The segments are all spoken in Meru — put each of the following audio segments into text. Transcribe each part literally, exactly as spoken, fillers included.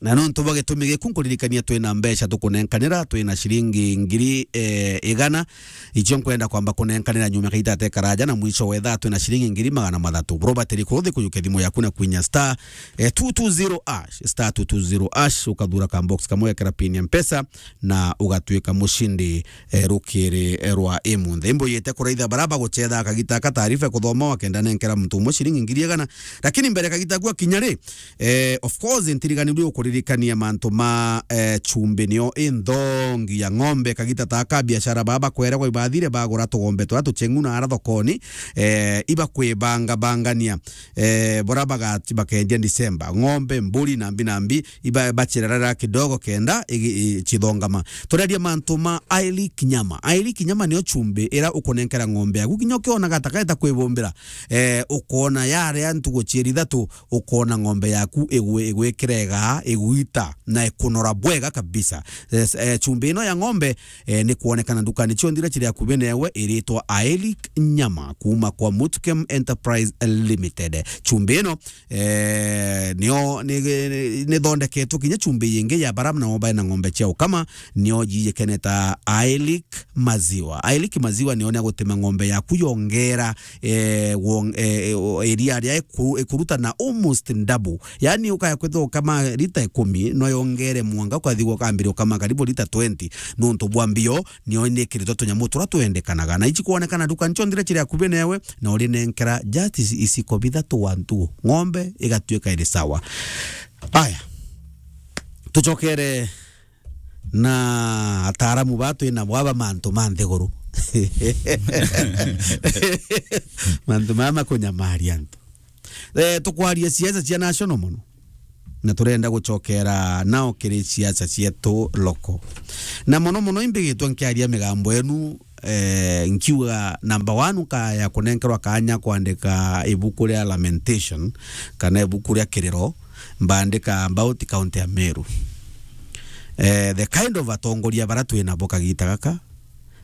Na nontu bwa gitumi giku, nkuririkania twina mbeca tukunenkanira, twina ciringi ngiri, eh, igana, icio nkwenda kwamba kunenkanira nyuma kaita te karaja, na mwisho wa ithaa twina ciringi ngiri magana mathatu. Robert Rikuruthi, kujukia thimu yaku na kwinya star, eh, two two zero hash, star two two zero hash, ukathura ka box kamwe, ugekira pin ya Mpesa, na ugatuika mucindi, eh, rukiri, eh, rwa imunthe. Imbuyite kuraitha bara bagucetha kagita ka taarifa kuthoma, wakenda nenkera muntu umwe ciringi ngiri igana. Lakini mbere kagita gwa kinya ri, eh, of course, ntiriganirwe ukuririkania mantu ma, eh, chumbi nio inthongi ya ng'ombe. Kagita taka biashara baba bakweragwa ibathire bagura tugombe twa tucheng'u na ara thokoni, eh, ibakwibanga bangania, eh, bora bagati-, bakendia December. Ng'ombe, mburi, nambi, nambi, iba-, bachirarara kidogo kenda igi-, i-, chithongama. Tureria mantu ma Ailic Nyama. Ailic Nyama nio chumbi ira ukunenkera ng'ombe yaku. Kinya ukiona gatakaeta kwibumbira, eh, ukona yaria ntugu chieri ithatu, ukona ng'ombe yaku igwi-, igwikira igaa, igwita, na ikunora bwega kabisa. Yes, eh, chumbi ino ya ng'ombe, eh, ni kwonekana ndukani cionthe iria chiri akubi newe, iritwa Ailic Nyama, kuma kwa Mutkem Enterprise Limited. Chumbi ino, eh, nio ni, ni, ni thondeketwe kinya chumbi yingi ya bara nao bae na ng'ombe cia ukama, nio yiyikene ta Ailic Maziwa. Ailic Maziwa nio ni agutima ng'ombe yaku yongera, eh, wong-, eh, eh, o-, iria ria iku-, ikuruta na almost double. Yani ukaya kwithirwa ukama lita ikumi, no yongere mwanga, ukathi ukambire ukama karibu lita twenty, nontu bwa mbio, nio nikiritwe tunyamu turia twendekanaga. Na ici kwonekana nduka ncionthe iria chiri akubi newe, na urinenkera just iciko bithatu wa ntugu. Ng'ombe igatuika iri sawa. Aya. Tuchokere na ataaramu ba twina bo aba mantu ma nthiguru. Mantu maya makunyamaria antu. Eh, tukwaria siasa cia national mono. Na turenda gucokera nao kiri siasa cietu local. Na mono mono imbigitwe nkiaria migambo yenu, eh, nkiuga number one, nkaya kunenkerwa kanya kwandika ibuku ria Lamentation kana ibuku ria kiriro, mbandika about county ya Meru. Eh, the kind of atongoria bara twina bo kagita gaka,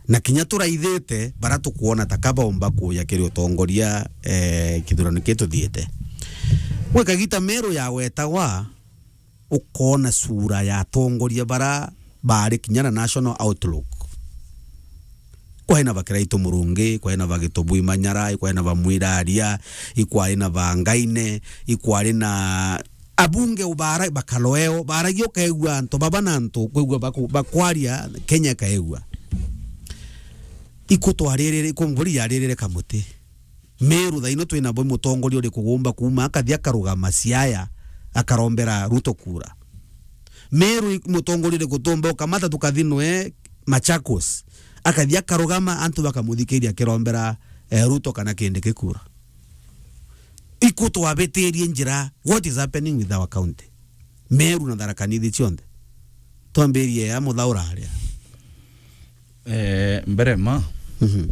na kinya turaithite bara tukwona ta ka baumba kuja kiri utongoria, eh, kithurano ki tuthiite. Gwi kagita Meru yawetagwa, ukona sura ya atongoria bara baari kinya na national outlook. Kwari na ba Kiraitu Murungi, kwari na ba Gitubui Manyara, kwari na ba Mwiraria, ikwari na ba Ngaine, ikwari na abunge ubara-, bakaloeo, baragia ukaigua antu baba na antu, ukaigua baku-, bakwaria Kenya ikaigua. Iku twaririre, iku mburi yaririre kamuti. Meru thaino twina bo mutongoria uriku gumba kuuma akathi akarugama Siaya akarombera Ruto kura? Meru i-, mutongoria uriku tumba ukamata tukathi nwe Machakos akathi akarugama antu bakamuthikiria akirombera, eh, Ruto kana Kindiki kura? Iku twabitirie njira? What is happening with our county? Meru na Tharaka Nithi cionthe. Twambirie ya muthaura aria. Eh, mbere ma, Mhm.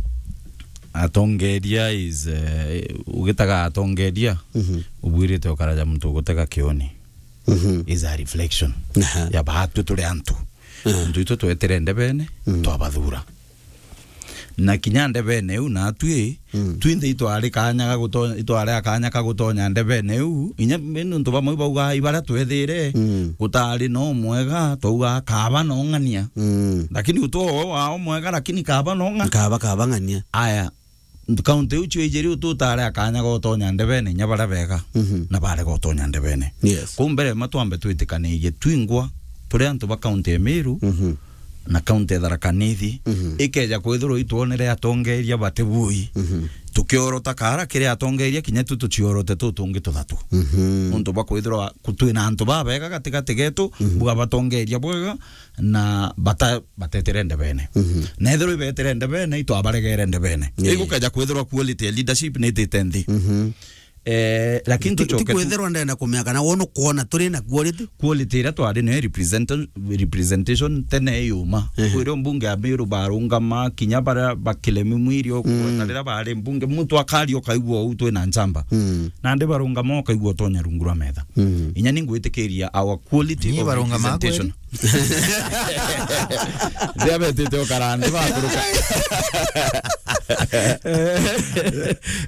atongeria is, eh, ugitaga atongeria, Mhm. ubwirite ukaraja muntu ugutega kioni. Mhm. Is a reflection Aha. ya baatwi turi antu. Aha. Antu itu twetire ndebene, Mhm. twabathura. Na kinya ndebene iu natwi, Mm. twinthe itwari kanya ga guto-, itwari akanya ka gutonya ndebene iu, inya nontu bamwe bauga ibaria twethire, Mm. gutari no mwega, twauga kaba no ng'ania. Mm. Lakini utwo wao mwega, lakini kaba no ng'a-, Kaba, kaba ng'ania. Aya, kaunti iu cio ijiri ututare akanya ga utonya ndebene, inya baria bega, Mhm. na barega utonya ndebene. Yes. Kuu mbere ma twambe twitikanirie twingwa turi antu ba kaunti ya Meru, Mhm. na kaunti ya Tharaka Nithi, Mhm. ikeja kwithirwa itwonere atongeria bati bui. Mhm. Tukiorota kara kiri atongeria kinya tu tuciorote tu tungi tuthatu. Mhm. Nontu bwa kwithirwa ku-, twina antu babega gatigati getu, Mhm. bwa batongeria bwega, na bata-, batetire ndebene. Mhm. Na ethirwa ibetire ndebene, itwabaregere ndebene. Yeah. Igukeja kwithirwa quality ya leadership ni itite nthi. Mhm. Eh, lakini Ti-, ti tucoke tu kwithirwa ndenda kumenya kana wona ukwona turi na quality. Quality iria twari nayo represent-, representation tene yuma. Ehe. Kwiri mbunge ya Meru barungama, kinya baria bakiremi mwiri o, Mhm. na riria bari mbunge, muntu akaria ukaigua uu twina njamba. Mhm. Nandi barungama ukaigua utonya rungu rwa metha. Mhm. Inya ni ngwitikiria our quality Ni of barungama representation. Kweli? Riria betite ukara nthi bakuruka.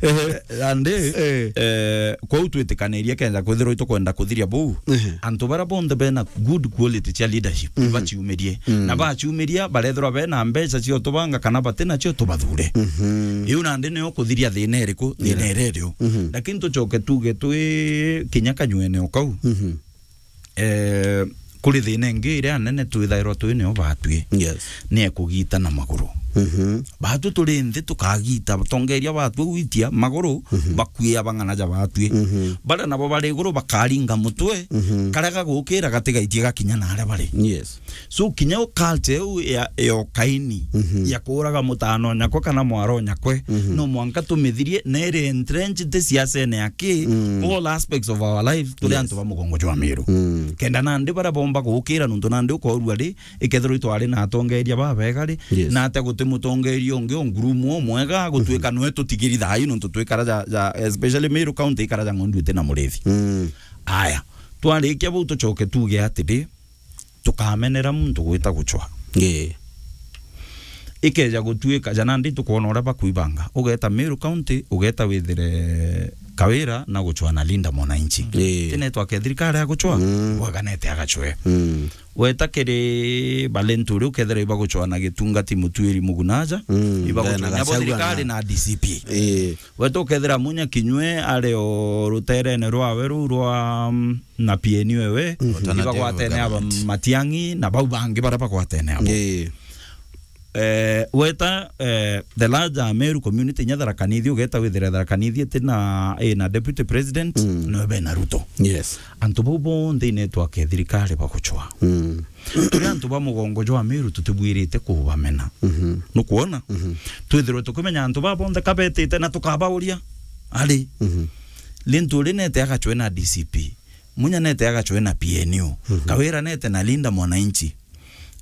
Eh, andi, Eh. eh, kwou twitikanirie kenja kwithirwa itukwenda kuthiria buu. Ehe. Antu baria bonthe bena good quality cia leadership, Mhm. baciumirie. Mm. Na baciumiria, barethirwa bena mbeca cia utubanga kana bati nacio, tubathure. Mhm. Iu nandi nio kuthiria thina iriku? Thina Yeah. iria irio. Mhm. Lakini tucoke tuge twi kinya kanyuene o kau. Mhm. Eh, kuri thina ingi iria nene twithairwa twi nio batwi. Yes. Ni ekugita na maguru. Mhm. Batwi turi nthi tukagita, tongeria batwi gwitia maguru, Mhm. bakwia bang'ana ja batwi. Mhm. Baria nabo bari iguru bakaringa mutwe, Mhm. karia gagukira gatigaitie gakinya na aria bari. Yes. So, kinya u culture iu ya, ya ukaini, Mhm. ya kuuraga mutano nyakwe kana mwaro nyakwe, Mhm. no mwanka tumithirie, na iri entrenched siasene ya ki, Mm. all aspects of our lives, turi Yes. antu ba mugongo jwa Meru. Mm. Kenda nandi baria bomba gukira, nontu nandi ukorua ri, ikethirwa itwari na atongeria babega ri, Yes. na ate guti mutongeria ungi o ngurumu o mwega, gutuika Mhm. nwe tutigiri thayu, nontu twikara ja, ja, especially Meru County ikara ja ng'ondu iti na murithi. Mm. Aya, twarikia bau tucoke tuge atiri, tukamenera muntu gwita gucwa. Ii. Ikeja gutuika, ja nandi tukwona uria bakwibanga. Ugeta Meru County, ugeta withire Kawira na gucwa na Linda Mwananchi. Ii. Ti network ya thirikari ya gucwa, Mm. bwaganete agacwe. Mm. Weta kiri Balenturi, ukethira ibagucwa na Gitungati Mutuiri Mugunaja, Mm, ibagucwa na bo thirikari na D C P. Ii. Weta ukethira Munya Kinyue ari o ruterene rwawe ruu rwa, mm, na P N U ewe, Mhm. Alternative ibagwatene aba government. Matiang'i na bau bangi baria bagwatene abo. Ii. Eh, weta, eh, the larger Meru community inya Tharaka Nithi, ugeta withire Tharaka Nithi iti na, eh, na deputy president, Mm. no be na Ruto. Yes. Antu bau bonthe i network ya thirikari bagucwa. Mm. Turi antu ba mugongo jwa Meru tutibwirite kubamena. Mhm. Nukwona? Mhm. Twithirwe tukimenya antu ba bonthe kabetite na tukabauria. Ari. Mhm. Linturi nete agacwe na D C P. Munya nete agacwe na P N U. Mhm. Kawira nete na Linda Mwananchi.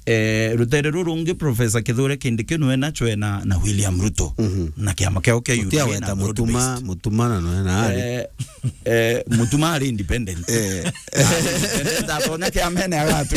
Eh, rutere ruru rungi Professor Kithure Kindiki nwe nachwe na, na William Ruto. Mhm. Na kiama kiao kia U D A na Mutuma, broad based. Mutuma na nwe na ari. Eh, eh, Mutuma ari independent. Eh. Ari independent, atonya kiamene agatu.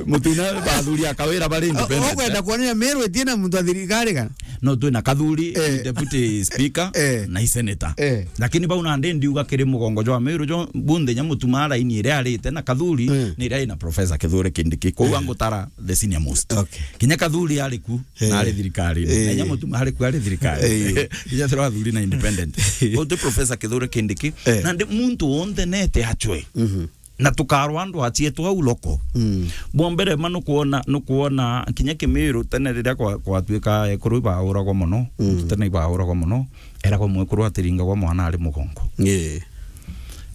Mutuma bathuri a Kawira bari independent. Ukwenda kuonania Meru itina muntu wa thirikari kana? No, twina Kathuri, Eh. deputy speaker, Eh. na i senator. Eh. Lakini bau nandi ndiuga kiri mugongo jwa Meru jo bunthe nya Mutuma raini iria arite na Kathuri Eh. ni iria ina Professor Kithure Kindiki. Kou Eh. angutara the senior most. Okay. Kinya Kathuri ari ku, Eh. na ari thirikari. Eh. Na nya Mutuma ari ku ari thirikari. Eh. Kinya thirwa athuri na independent. Kou ti Professor Kithure Kindiki. Eh. Nandi muntu wonthe nete achwe. Mhm. Na tukarwa andu acietu au loko. Mm. Bwa mbere ma nukwona, nukwona kinya Kimiru tene riria kwa, kwatuika ekuru ibauragwa mono, Mm. tene ibauragwa mono, eragwa mwekuru atiringagwa mwana ari mugongo. Yeah.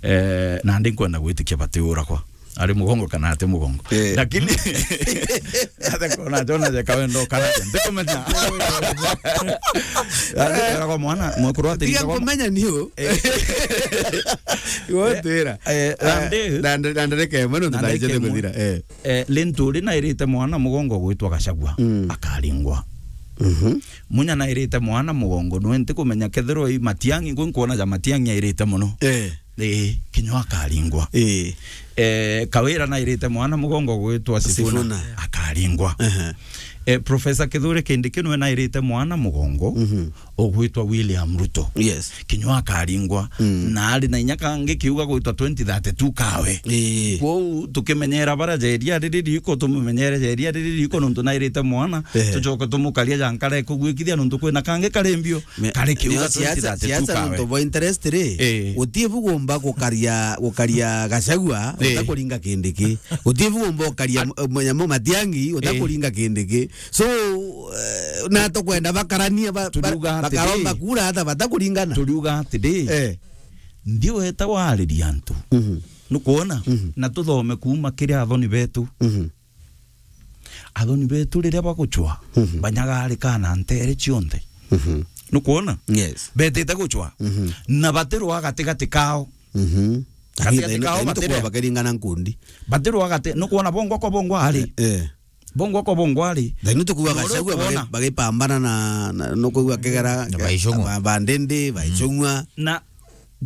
Eh, nandi nkwenda gwitikia batiuragwa ari mugongo kana ati mugongo. Eh. Lakini, ate kona jona jeka wendo kana je, ndikumenya. Ati eragwa mwana, mwekuru Tiga atiringagwa kumenya niu. Eh. Gotwira. Eh, nandi, na nde-, na ndereke mwe nontu na ndereke ndaijete mwe. Kuthira, eh. Eh, Linturi nairite mwana mugongo gwitwa Gachagua, Mm. akaringwa. Mhm. Munya nairite mwana mugongo, nwe ntikumenya kethirwa i Matiang'i, ngwe nkwona ja Matiang'i airite mono. Eh. Eh, kinywa akaringwa. Eh. Eh, Kawira nairite mwana mugongo gwitwa Sifuna, Sifuna. Akaringwa. Ehe. Eh, Professor Kithure Kindiki nwe nairite mwana mugongo, Mhm. ugwitwa William Ruto. Yes. Kinywa akaringwa. Mm. Na ari na inya kangi kiuga gwitwa twenty thirty-two kawe. Ii. Kwou tukimenyera bara jeria riri riko, tumumenyere jeria riri riko, nontu nairite mwana, Ehe. tucoke tumukaria jankara ekugwikithia, nontu kwina kangi kari mbio, Me-, kari kiuga nio siasa, twenty thirty-two siasa kawe. Nontu bwa interest ri, Ii. guti bugomba gukaria, gukaria Gachagua, Ii. utakuringa Kindiki. Guti bugomba gukaria At- m-, nyamo Matiang'i, utakuringa Kindiki. So, eh, na tukwenda bakarania ba-, ba-, Turiuga atiri. Bakaromba kura hata batakuringana. Turiuga atiri, Eh. ndiweta wariria antu. Mhm. Nukwona? Mhm. Na tuthome kuuma kiri athoni betu. Mhm. Athoni betu riria bagucwa, Mhm. banyagarika na ntere cionthe. Mhm. Nukwona? Yes. Betite gucwa. Mhm. Na batirwa gatigati kao. Mhm. Gatigati Lakini kao thaino, thaino batire. Tukwamba kiringana nkundi. Batirwa gati-, nukwona bongwa kwa bongwa ari. Eh, eh. Bongwa kwa bongwa ari. Thaino tukuuga Gachagua bagi-, bagipambana na, na, nukuigua kigera, Na Baicung'wa. Ba-, Bandindi, Baicung'wa. Na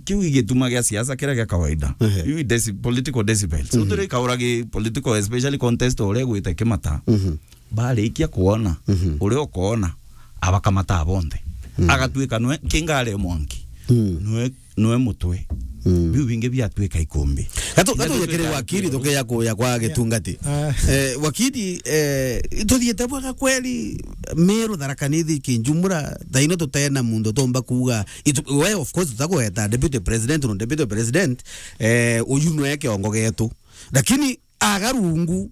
kiu i gituma gia siasa kiria gia kawaida. Ehe. Iu i deci-, political decibels. Mhm. Utire kauragi political, especially contest uria igwite Kimata. Mhm. Barikia kwona, Mhm. uria ukoona, abakamata bonthe. Mm. Agatuika nwe kingare mwanki. Mm. Nwe, nwe mutwe. Mm. Biu bingi biatuika ikumbi. Gatu-, Kinya gatu tutuika kiri wakiri ikumbi. Tukia kuya kwa gitungati. Ah. Eh, wakiri, eh, ituthiite bwega kweli, Meru, Tharaka Nithi, Kinjumura, thaino tutena muntu tomba kuuga, itu-, we, of course, tutakugweta deputy president, no deputy president, eh, uyu nwe kiongo getu. Lakini aga rungu,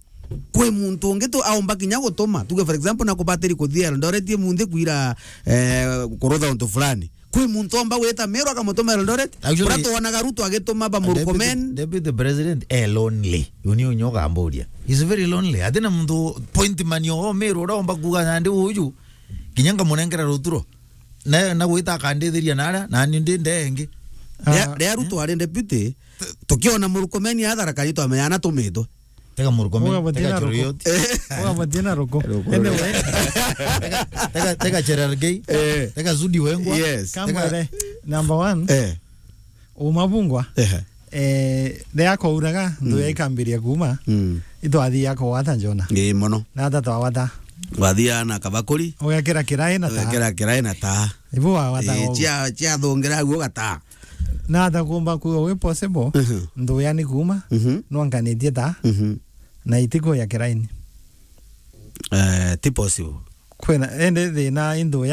kwi muntu ungi tu aumba kinya gutuma. Tuge, for example, na kubatiri kuthia Eldoret munthi kwira, eh, kurutha untu fulani. Kwi muntu omba gwita Meru akamutuma Eldoret. Actually, Uria twonaga Ruto agituma ba deputy, Murkomen. Deputy president e lonely. Uni unyo gamburia. He's very lonely. Atina muntu point man o Meru uria omba kuga nandi uyu. Kinya ngamunengera ruturo. Na, na gwita akandithiria naria, nani ndi ndenge. Ria, Ah, ria Ruto ari deputy, tukiona Murkomen atharakani twamenya na tumitwe. Tega Murkomen, Uga tega batina Choroiyot. Ruko. Uga batina Ruko. Ruko. Anyway. Tega, tega, tega Cherargei. Eh. Tega Sudi Wengwa. Yes. Tega Kamwere, number one. Eh. Uma bungwa. Eh. Eh, ria kwauraga, nthu Mm. ya ikambiria kuuma. Mm. Itwathia kugwata Jona. Ii, mono. Na ata twawata. Wathia na kabakuri. Ugekira kirai na taa. Ugekira kirai na taa. Ibu wawata Ii, uu. Cia, cia thungira au ugataa. Na ata kumba kuuga wi possible, Mhm. nthu ya ni kuuma, Mhm. nwankanitie taa, Mhm. na itiku ya kiraini. Eh, ti possible. Kwina, indi thina i nthu ya